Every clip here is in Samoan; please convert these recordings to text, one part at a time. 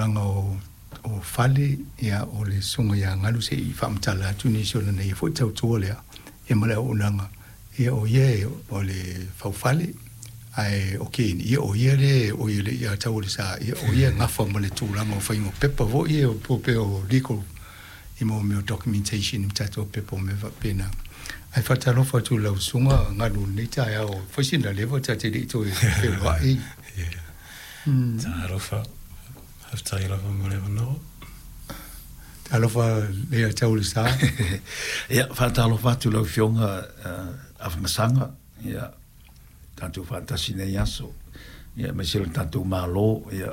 tulaga o o fale, ia, o le Susuga ia Galu se i faamatala atu nisi o lana ia foi tautua lea, ia ma le auaunaga, ia o ia o le faufale, ae o Ken, ia o ia le o ia le ia tau o le sa, ia o ia gafa ma le tulaga o faiga o pepa foi ia po pe o legal i mo mea o documentation i tatou pepa o mea faapena. Ae faatalofa atu i lau Susuga Galu i lenei taeao, fai sina leva ta te le i toe feiloai. Yeah. Talofa. Faafetai lava mo le avanoa. Talofa le tau le sa. Ia, faatalofa atu lau Afioga Afamasaga, ia, tatou faatasi nei aso, ia, aemaise o le tatou Malo, ia,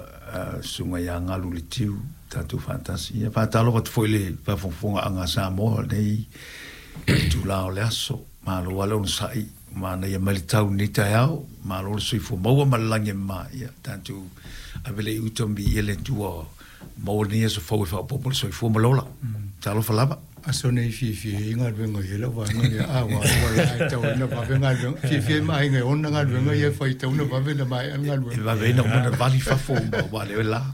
Susuga ia Galu Letiu, tatou faatasi. Ia, faatalofa atu foi i le faafogafogaaga a Samoa i lenei itula o le aso. Malo lava le onosai, manaia mai le tau i lenei taeao, malo le soifua maua ma le lagi e mama, ia tatou ave lea i uta ma viia le Atua maua lenei aso fou e faaopoopo le soifua ma le ola. Talofa lava. Aso nei fiafia ai galuega i lau vaega lea. A ua ua la e tau ina vave galuega. Fiafia ai ma aiga e ona galuega ia e fai tau na vave na maea le galuega. E vave ai na uma ona vali fafo ma ua leo e la.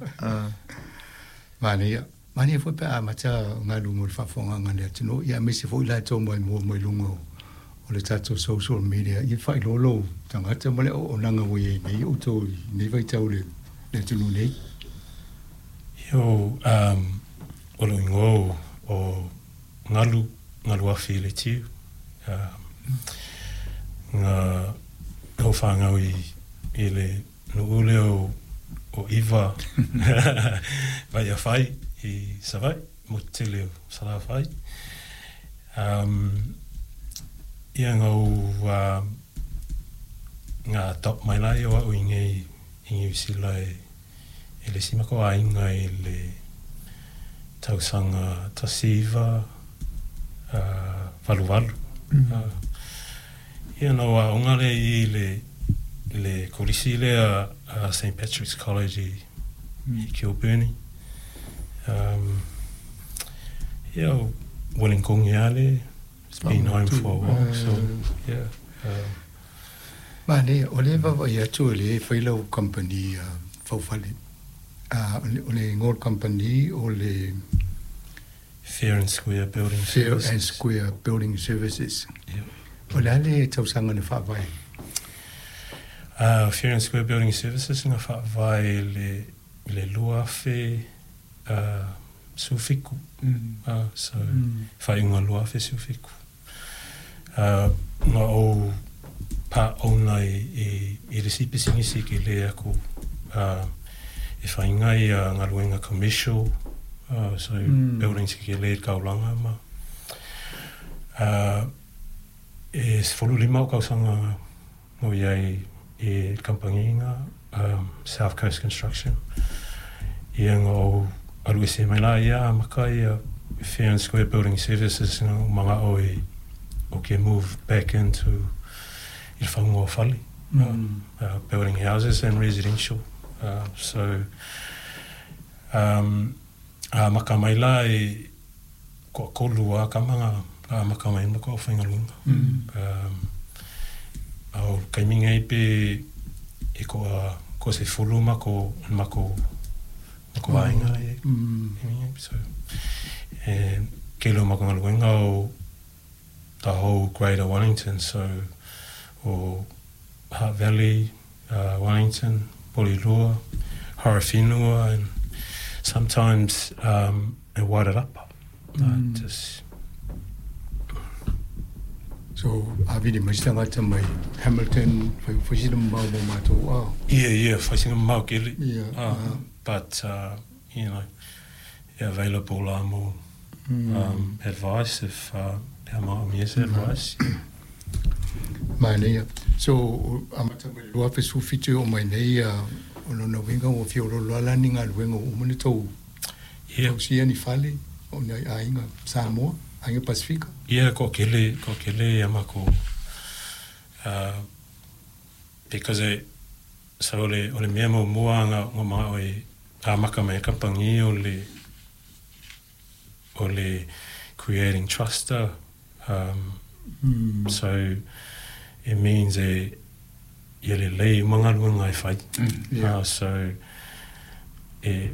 Manaia. Manaia foi pe a amata galu mo le faafofogaaga a le atunuu, ia aemaise foi latou mai mua mai luga o o le tatou social media, ia faailoa lou tagata ma le auaunaga ua i ai nei outou i lenei vaitau i le atunuu nei. Ia o, um, o lou igoa o, o Galu, Galuafi Letiu. Um, nga ou whāngau i, i le nuu lea o, o Iva Vaiafai i Savaii, motu tele o Salafai. Um, ia nga ou, uh, nga adopt mai la ia o au i nei i Niu Sila e, e le isi mako aiga i le tausaga 1988. Ia na ou aoga lea i le le kolisi lea a St Patrick's College i, i Kilbirnie. Um, ia, o Wollongong lava le, it's been home for a while, so, yeah. Manaia, o lea e vaavaai atu o lea e fai lau kamupani faufale. O le igoa o le kamupani o le Fair and Square Building Services. Fair and Square Building Services. O le a le tausaga na faavae? Fair and Square Building Services na faavae i le le 2017. So, faaiuga 2017. Na ou part owner i le isi pisinisi ke lē aku e faiga ia galuega commercial, so buildings ke lē taulaga ma e 15 ou tausaga na ou i ai i le kamupani na, South Coast Construction. Ia na ou alu ese mai la ia amata ia Fair and Square Building Services na ou mana'o e o ke move back into i le fauga o fale, building houses and residential. So amata mai la e toatolu lava tama na amata mai ai ma matou aufaigaluega. A o le taimi lenei pe e toa 10 matou le matou matou aiga la e i ai. So, e tele o matou galuega o the whole Greater Wellington, so o Hutt Valley, Wellington, Porirua, Horowhenua and sometimes e Wairarapa. Just So, a vili mai se tagata mai Hamilton, fai, fai sina mamao mo matou, ah. Yeah, yeah, fai sina mamao kele. Yeah. But, you know, available la mo advice if pe a manaomia se advice. Yeah. Manaia. So, amata mai le 2017 e oo mai nei, o lona uiga ua fia oloolo lava la ni galuega ua uma ona tou tausia ni fale o ni aiga Samoa, aiga Pasefika? Ia, toatele, toatele ia matou, because e, so o le, o le mea muamua na manao e amata mai ai le kamupani o le, o le creating trust so it means e ia lelei uma galuega e fai. So e